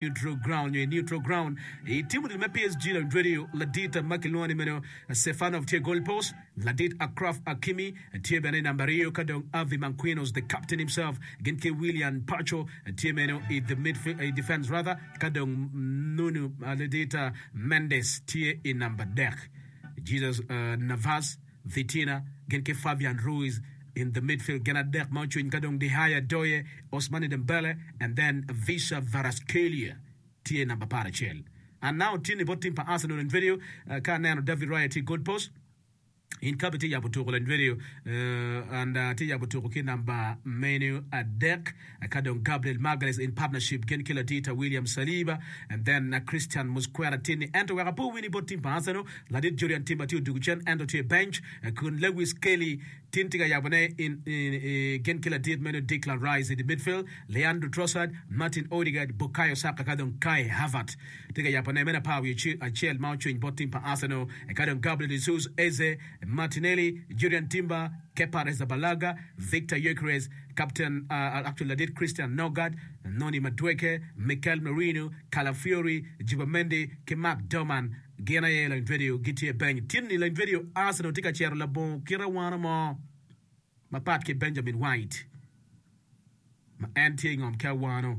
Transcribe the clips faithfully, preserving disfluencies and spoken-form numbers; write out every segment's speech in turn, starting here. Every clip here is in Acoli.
Neutral ground nyo i neutral ground i tim odilo me P S G radio ladit ma kilwongo ni meno Stefanov tye goal post, ladit Achraf Hakimi tye bene i namba aryo, ka dong Javi Marquinhos, the captain himself, gin ki Willian Pacho tye meno i the midfield, i defense rather, ka dong Nuno ladit Mendes tye i namba adek. Jesus uh, Navas, Vitinha gin ki Fabian Ruiz in the midfield, gin adek ma ocwiny, ka dong Dihaya Doye, Ousmane Dembele and then Khvicha Kvaratskhelia tye namba apar acel. And now tye ni bot team pa Arsenal in video uh, ka aneno David Raya tye goal post in kabi tye yabo tuko in video uh, and uh, tye yabo tuko ki namba menu adek, ka dong Gabriel Magalhaes in partnership gin ki ladita William Saliba and then uh, Christian Mosquera tye ni ento wek apo wini bot team pa Arsenal ladit Jurrien Timber tye odugu cen ento tye bench, uh, kun Lewis Kelly tin tye ka yabone in, in, in, gin ki ladit meno Declan Rice in the midfield, Leandro Trossard, Martin Odegaard, Bukayo Saka ka dong Kai Havertz tye ka yabone meno apar wiye acel ma ocwiny bot team pa Arsenal, ka dong Gabriel Jesus, Eze, Martinelli, Jurrien Timber, Kepa Arrizabalaga, Victor Gyökeres, captain uh, actually ladit Christian Norgaard, Noni Madueke, Mikel Merino, Calafiori, Zubimendi ki Mark Doman gin aye lany video gitye bench. Tin ni lany video Arsenal tye ka cero labongo kite wano mo mapat ki Benjamin White ma en tye i ngom ki awano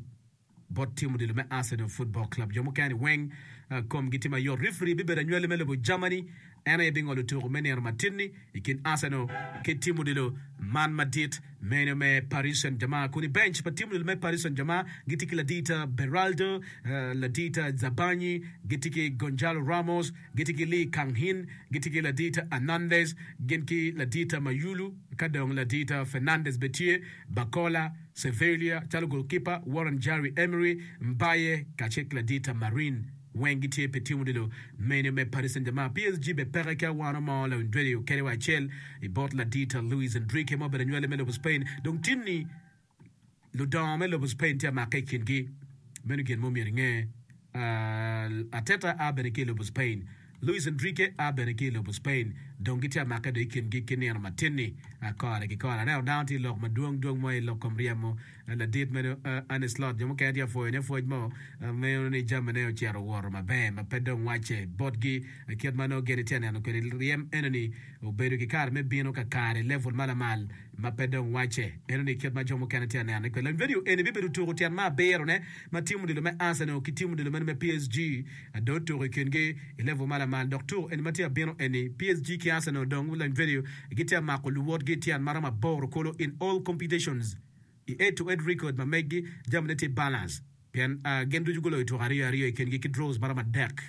bot tim odilo me Arsenal Football Club. Jo mukene weng uh, komgi tye mayot. Referee bibedo anywali me lobo Germany, en aye bingolo tuko me nino matin-ni i kin Arsenal ki tim odilo man madit meno me Paris Saint-Germain. Kun i bench pa tim odilo me Paris Saint-Germain gitye ki ladita Beraldo, uh, ladita Zabarnyi, gitye ki Gonzalo Ramos, gitye ki Lee Kang-in, gitye ki ladita Hernandez, gin ki ladita Mayulu, ka dong ladita Fernandez be tye, Barcola, Sevilla calo goalkeeper, Warren Zaire Emery, Mbaye kacel ki ladita Marin weng gitye pi tim odilo meno me Paris Saint-Germain. P S G be peke ki awano mo lawiny kede wa acel i bot ladita Luis Enrique ma obedo anywali me lobo Spain. Dong tin-ni ludongo me lobo Spain tye amake i kingi, meno gin mo myero inge. uh, Arteta a bene ki i lobo Spain, Luis Enrique a bene ki i lobo Spain, dong gitye amake do i kingi ki nino matin-ni uh, kore ki kore. Aneno dano tye lok madwong dwong mo i lok kom ryemo uh, ladit meno uh, Arne Slot. Jo mukene tye apwoyone pwoc mo uh, meno ni jamine ocito woto maber ma pe dong wacce botgi uh, kit ma nongo gin itye neno kwede ryem enoni obedo ki kare me bino kakare level ma lamal ma pe dong wacce enoni kit ma jo mukene tye aneno kwede. Video eni bibedo tuko tyen ma abirone ma tim odilo me Arsenal ki tim odilo meno me P S G do tuko i kingi i level ma lamal. Dok tuko eni ma tye abino eni P S G ki Arsenal dong lany video gitye mako luwotgi tyen maromo aboro kolo in all competitions i head to head record ma meggi jamine tye balance pien uh, gin ducu guloyo tuko aryo aryo i kingi ki draws maromo adek.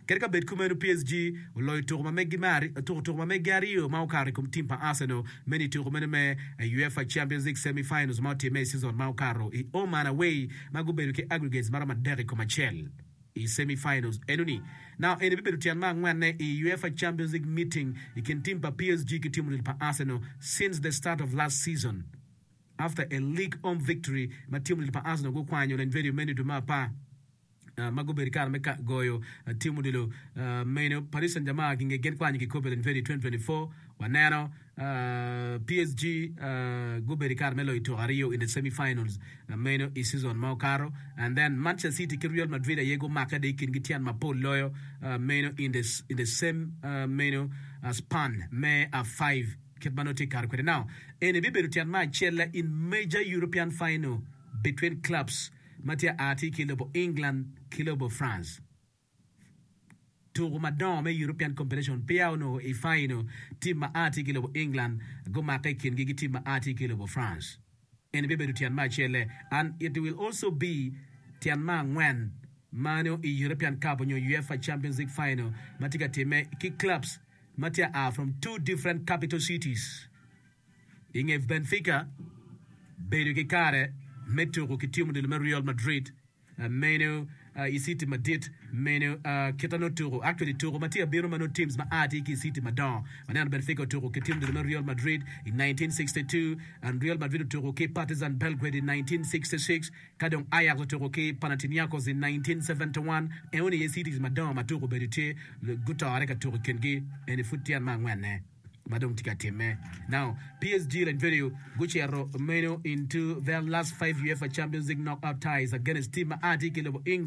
Kadi ka bed kumeno, P S G oloyo tuko ma meggi me tuko tuko ma meggi aryo ma okato i kom tim pa Arsenal meno i tuko meno me UEFA Champions League semi-finals ma otimme i season ma okato i home and away ma gubedo ki aggregates maromo adek i kom acel i semi-finals enoni. Now eni bibedo tyen ma angwenne i UEFA Champions League meeting i kin tim pa P S G ki tim odilo pa Arsenal since the start of last season after a league home victory ma tim odilo pa Arsenal gukwanyo lany video meno i dwe me apar Uh, ma gubedo kare me ka goyo uh, tim odilo uh, meno Paris Saint-Germain ginge gin kwanyo kikope lany video twenty twenty-four. Waneno uh, P S G uh, gubedo kare me loyo tuko aryo in the semi-finals uh, meno i season ma okato. And then Manchester City ki Real Madrid aye gumake de i kingi tyen mapol loyo uh, meno in the, in the same uh, meno uh, span me uh, five kit ma nongo tye kare kwede. Now eni bibedo tyen ma acel in major European final between clubs ma tye a tye ki lobo England ki lobo France. Tuko madongo me European competition peya onongo i final team ma a tye ki lobo England gumake i kingi ki team ma a tye ki lobo France. Eni bibedo tyen ma acel and it will also be tyen ma angwen mano i European Cup onyo UEFA Champions League final ma tye ka timme ki clubs ma tye a from two different capital cities. Inge Benfica bedo ki kare me tuko ki tim odilo me Real Madrid uh, meno uh, i city madit meno uh, kita no tuko actually tuko ma tye abino ma no teams ma a tye ki i city madongo. Waneno Benfica otuko ki tim odilo me Real Madrid i nineteen sixty-two and Real Madrid otuko ki Partizan Belgrade i nineteen sixty-six, ka dong Ajax otuko ki Panathinaikos i nineteen seventy-one. Enoni ye cities madongo ma tuko obedo tye gutore ka tuko i kingi. Eni pud tyen ma angwenne Ma dong tye ka timme. Now, PSG lany video gucito meno into their last five UEFA Champions League knockout ties against team ma a tye ki lobo England.